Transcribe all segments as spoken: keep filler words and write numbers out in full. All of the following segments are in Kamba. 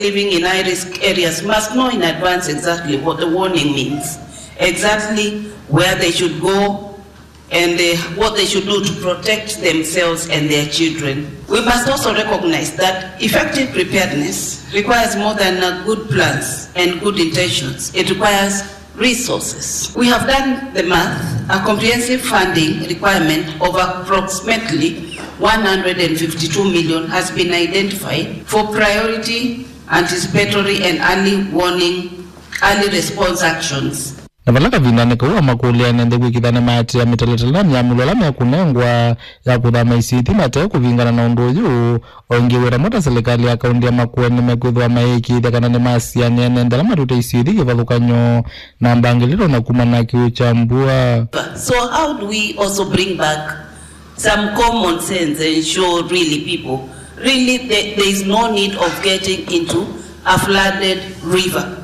living in high risk areas must know in advance exactly what the warning means, exactly where they should go, and uh, what they should do to protect themselves and their children. We must also recognize that effective preparedness requires more than uh, good plans and good intentions. It requires resources. We have done the math. A comprehensive funding requirement of approximately one hundred fifty-two million has been identified for priority, anticipatory and early warning, early response actions. Na vala kavindanĩ kau amakũlya ene nthĩ kwĩkĩthya nĩmaatĩĩa mĩtalatala na myamũlo ĩla mekũnengwa ya kũthama isio ithi mate kũvingana na ũndũ ũyũ. O ĩngĩ wĩra mota silikalĩ ya kaũntĩ ya Makueni nĩmekwĩthĩwa mayĩĩkĩĩthya kana nĩmasianĩa ene nthĩ ala matũte isio ithi kĩvathũkany'o na mbangĩlĩlo na kumana na kĩw'ũ kya mbua. So how do we also bring back some common sense and show really people, really there, there is no need of getting into a flooded river.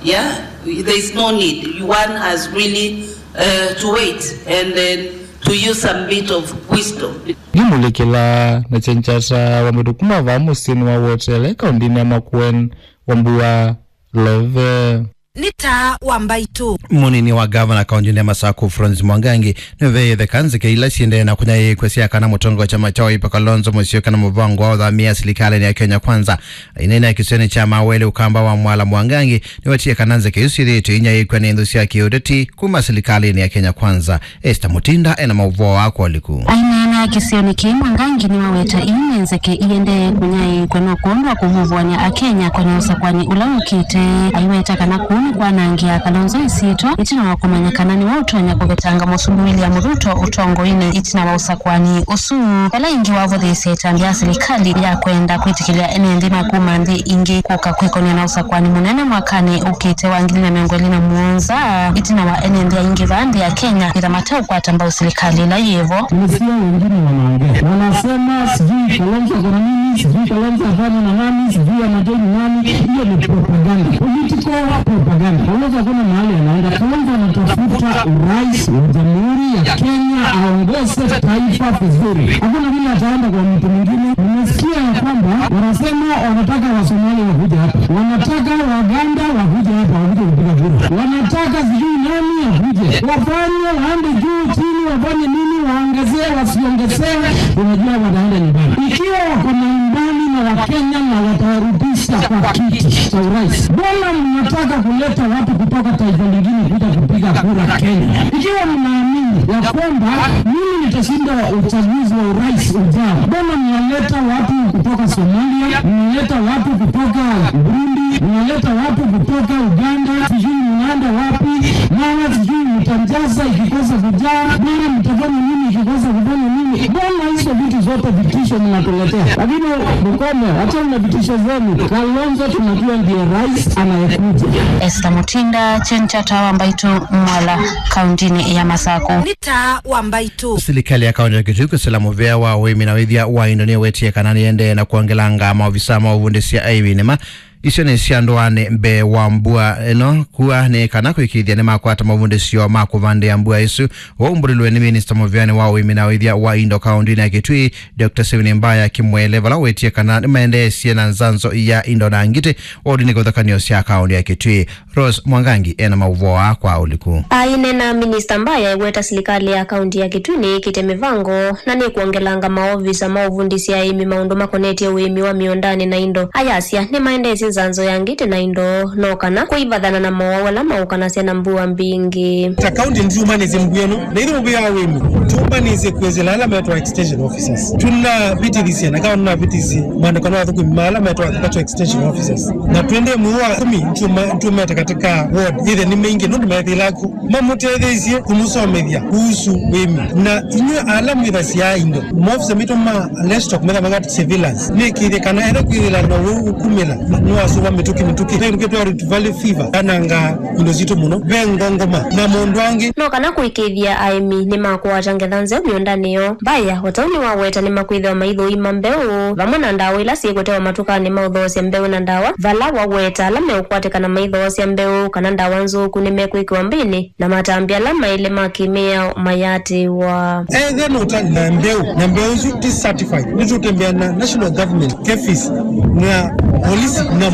Yeah, there is no need. One has really uh, to wait and then to use some bit of wisdom. Ngĩmũlĩkĩla na Chenchata wa Mwĩtũ kuma vaa mũsyĩnĩ wa Wotele, kaũntĩnĩ ya Makueni, Wambua Love. Nĩ taa wa mbaitũ. Mũnini wa gavana kaũntĩnĩ ya Masaku, Florence Mwangangi, nĩũveete kana nzeke ila siendee na kũnyaĩĩkw'a sya kana mũtongoi wa kyama kya Wiper Kalonzo Musyoka na mũvango wa ũthamia silikalĩnĩ ya Kenya Kwanza. Aineena kĩsionĩ kya Mawele Ũkamba wa Mwala, Mwangangi nĩwetie kana nzeke isu syĩthĩĩtwe inyaĩĩkw'a nĩ nthũ sya kĩũteti kuma silikalĩnĩ ya Kenya Kwanza. Esther Mutinda ena maũvoo aa kwa ũliku. Aineena kĩsionĩ kĩĩ, Mwangangi nĩwaweta ii nĩ nzeke iendee kũnyaĩĩkw'a no kwondũ wa kũvũvũany'a Akenya kũnĩ ũsakũani ũla ũkĩte. Aiweta kana kũu nĩ kwanangĩa Kalonzo ĩsyĩtwa ĩtina wa kũmanya kana nĩwe ũtonya kũvetanga Mũsumbĩ William Ruto ũtongoinĩ ĩtina wa ũsakũani ũsu. Vala ĩngĩ wavũthĩĩsya ĩtambya ya silikalĩ ya kwenda kwĩtĩkĩlya ene nthĩ ma kuma nthĩ ingĩ kũka kwĩkony'a na ũsakũani mũnene mwakanĩ ũkĩte wa ngili na mĩongo ĩlĩ na mũonza, ĩtina wa ene nthĩ aingĩ vaa nthĩ ya Kenya kwĩtha mateũkwata mbau silikalĩ ĩla yĩvo. Nimesikia wengine wanaongea, wanasema sijui Kalonzo ako na nini, sijui Kalonzo afanya na nani, sijui anajoin nani. Hiyo ni propaganda, political propaganda. Kalonzo hakuna mahali anaenda. Kalonzo anatafuta urais wa Jamhuri ya Kenya, aongoze taifa vizuri. Hakuna vile ataenda kwa mtu mwingine. Nimesikia ya kwamba wanasema wanataka Wasomalia wakuje hapa, wanataka Waganda wakuje hapa, wakuje kupiga kura, wanataka sijui nani akuje, wafanye, waende juu chini, wafanye nini, waongezee, wasiongezee, unajua wataenda nyumbani. Ikiwa wako na imani na Wakenya na watawarudisha kwa kiti cha urais, mbona mnataka kuleta watu kutoka taifa lingine kuja kupiga kura Kenya? Ikiwa mnaamini ya kwamba mimi nitashinda uchaguzi wa urais ujao, mbona mnaleta watu kutoka Somalia, mnaleta watu kutoka Burundi, mnaleta watu kutoka Uganda, sijui mnaenda wapi, mara sijui mtajaza ikikosa kujaa, mara mtafanya nini ikikosa kufanya nini? Mbona hizo vitu zote vitisho mnatuletea? Lakini mkome, achana na vitisho zenu. Kalonzo tunajua ndiye rais anayekuja. Esther Mutinda, Chenchata wa Mbaitũ, Mwala, kaũntĩnĩ ya Masaku. Nĩ taa wa mbaitũ. Silikalĩ ya kaũntĩ ya Kitui kwĩsĩla mũvĩa wa ũĩmi na ũĩthya wa indo nĩwetie kana nĩendee na kwongelanga maovisa ma ũvundĩsya aĩmi nĩma isionĩ sya ndũanĩ mbee wa mbua ĩno kua, nĩ kana kũĩkĩĩthya nĩmakwata mavundĩsyo ma kũvandĩa mbua ĩsu. Waumbũlilwe nĩ minista mũvĩanĩ wa ũĩmi na ũĩthya wa indo kaũntĩnĩ ya Kitui, Doctor Stephen Mbaya Kimwele, vala wetie kana nĩmaendeesye na nzanzo ya indo na ngitĩ ũndũ nĩ kũthakanio sya kaũntĩ ya Kitui. Rose Mwangangi ena maũvoo aa kwa ũliku. Aineena, Minista Mbaya eweta silikalĩ ya kaũntĩ ya Kitui nĩĩkĩte mĩvango na nĩkwongelanga maovisa ma ũvundĩsya aĩmi maũndũ makonetye ũĩmi wa mĩũndanĩ na indo. Ayasya nĩmaendeesye nzanzo ya ngitĩ na indo, no kana kũivathana na mowau ala maũkanasya na mbua mbingĩ. Ta kaũntĩ nĩtũmanĩsye mbua ĩno, na ithyĩ mũvĩa wa ũĩmi tũmanĩsye kwĩsĩla ala metwa extension officers. Tũnavĩtĩthisye na kawa nĩnavĩtĩsye maandĩko na athũkũmi ma ala metwa agricultural extension officers. Na twende mwei wa kũmi, nĩtũma-, nĩtũmete katika ward. Ĩthe nĩ maingĩ, nũndũ methĩĩla ku. Mamũtetheesye kũmũsomethya kuhusu wĩmi. Na inyw'ĩ ala mwĩthasya indo, maofisa maitũ ma livestock metha mangati surveillance. Nĩkĩthye kana etha kwĩthĩla na ũwau ũkumĩla, no Sũva mĩtũkĩ mĩtũkĩ. Ve ĩngĩ twĩtawa Rift Valley fever. Yanangaa indo sitũ mũno. Ve ngongoma na maũndũ angĩ. No kana kũĩkĩĩthya aĩmi nĩmakwata ngetha nzeo mĩũndanĩ yoo. Mbaya, o ta ũu nĩwaweta, nĩmakwĩthĩwa maithũima mbeũ vamwe na ndawa ila syĩkũtewa matukanĩ ma ũthoosya mbeũ na ndawa, vala waweta ala meũkwatĩkana maithoosya mbeũ kana ndawa nzũku nĩmekwĩkĩwa mbĩnĩ, na matambya ala maĩle ma kĩmĩao mayatĩĩwa. Ethe nũta na mbeũ, na mbeũ isu ti certified, nĩtũtembea na national government, KEPHIS, na polisi, na